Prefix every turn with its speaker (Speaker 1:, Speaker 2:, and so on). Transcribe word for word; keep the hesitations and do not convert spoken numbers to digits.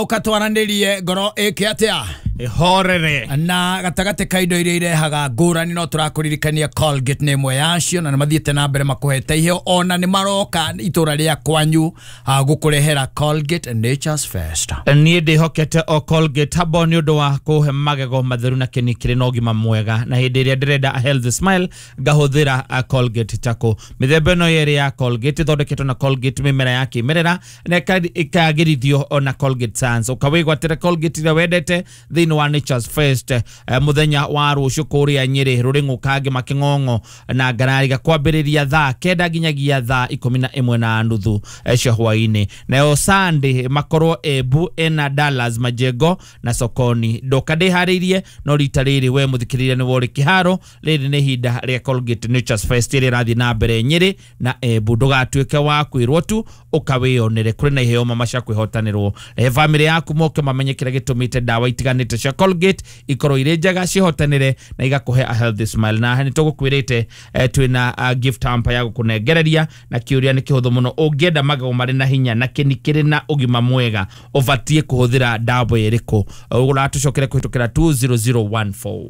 Speaker 1: Ũka twaranĩrie ngoro ĩke atĩa?
Speaker 2: Ihorere.
Speaker 1: Na gatagatĩ ka indo iria irehaga ngũrani, no tũrakũririkania Colgate nĩ ĩmwe yacio, na nĩ mathiĩte na mbere makũhete iheo, ona nĩ maroka itũra rĩa kwanyu ah, gũkũrehera Colgate Nature's Fest.
Speaker 2: Niĩ ndĩhokete o Colgate Herbal nĩ ũndũ wa kũhe magego matheru na kĩni kĩrĩ na ũgima mwega, na hĩndĩ ĩrĩa ndĩrenda a healthy smile ngahũthĩra a Colgate Charcoal. Mĩthemba ĩno yerĩ ya Colgate ĩthondeketwo na Colgate mĩmera ya kĩmerera na ĩka- ĩkagĩrithio ona Colgate Science. Ũkawĩgwatĩre Colgate ĩrĩa wendete thĩinĩ wa Nature's Fest eh, mũthenya wa rũciũ kũrĩa Nyĩrĩ, Rũrĩng'ũ, Kangĩ, Kĩng'ong'o na Ngarariga, kwambĩrĩria thaa kenda nginyagia thaa ikũmi na ĩmwe na nuthu eh, cia hwaĩ-inĩ. Nayo Sunday makorwo Embu, ena Dallas, Majengo na Sokoni. Ndoka ndĩharĩirie, no rita rĩrĩ we mũthikĩrĩria nĩ worĩ kĩharo. Rĩrĩ nĩ ihinda rĩa Colgate Nature's Fest ĩrĩa ĩrathiĩ na mbere Nyĩrĩ na Embu. Ndũgatuĩke wa kwĩrwo tu, ũkawĩyonere. Kũrĩ na iheo mama cia kwĩhotanĩrwo. Rehe bamĩrĩ yaku moke mamenye kĩrĩa gĩtũmĩte ndawa itiganĩte cia Colgate ikorwo irĩ njega, cihotanĩre na igakũhe a healthy smile. Na nĩ tũgũkwĩrĩte eh, twĩna uh, gift hamper ya gũkũnengereria, na kĩũria nĩ kĩhũthũ mũno: ũngĩenda magego marĩ na hinya na kĩni kĩrĩ na ũgima mwega, ũbatiĩ kũhũthĩra ndawa ĩrĩkũ? Ũratũcokere kũhĩtũkĩra two zero zero one four.